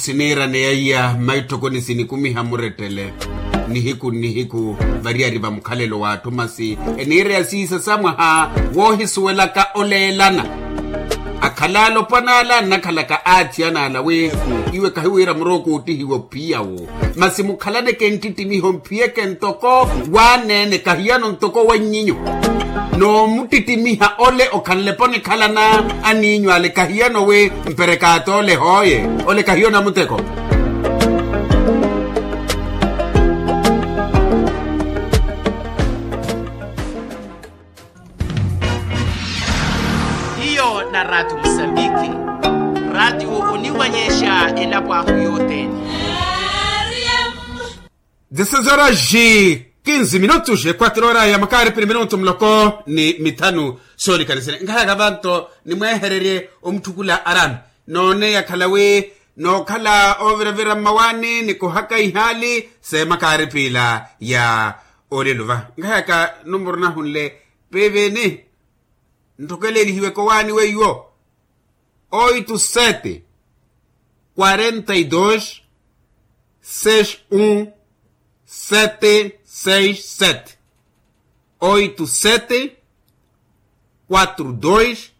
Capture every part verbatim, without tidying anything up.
siniiraneya iya mmaitthokoni sinikumiha murettele nihiku nnihiku. Variyari va mukhalelo w'atthu masi eniireya siisa sa mwaha woohisuwelaka oleelana. Akhala alopwana ala annakhalaka aathiyana ala wi iwe kahiwiira murooko oottihiwa ophiya wo. Masi mukhalaneke nttittimiho mphiyeke ntoko w'aneene kahiyano ntoko wannyinyu. Noomuttittimiha ole okhanlepa onikhalana aniinyu ale kahiyano wi mperekaata ole hooye. Ole kahiyo na muteko. Hiyo na ratu musambiki. Ratu oniwanyeesha elapo ahu yothene. Dezesseis horas e quinze minutos e quatro horas ya makaaripiri minutu muloko ni mithanu. Soolikanisene nkahaka vanto nimwehererye omutthukula arami noone yakhala wi nookhala ooviravira mmawaani nikuhaka ihaali seemakaaripila ya olelo va nkahaka numuru nahunle. Pivini ntthokelelihiweke owaani weiwo. Oito sete quarenta e dois seis um sete seis sete. Oito sete quatro dois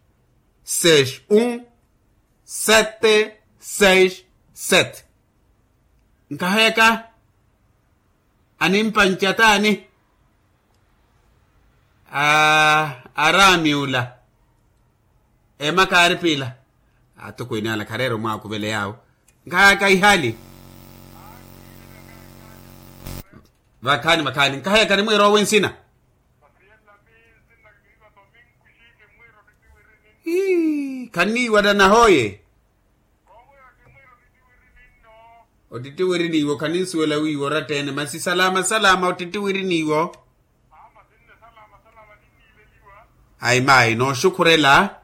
seis um sete seis sete. Nkaheka animpanca taani? Araami ula emakaaripila atokweene ala khareera omwaakuvela yaawo. Nkahaka ihali vakhaani vakhaani nkahaka nimwiira owe nsina. Ii khanniiwa nahooye. Ottittiwiri niiwo khaninsuwela wiiwo oratta-ene masi salama salama ottittiwiri niiwo. Ayi mayi nooxukhurela.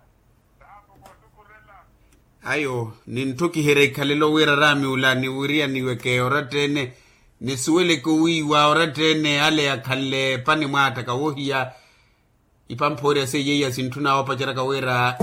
Ayo ninttukiherya ikhalelo wira araami ula niwiriyaniweke oratta-ene nisuweleke owiiwa oratta-ene ale akhanle panimwaattaka wohiya. Ipamphoorya seiya iya sintthuna woopaceryaka wira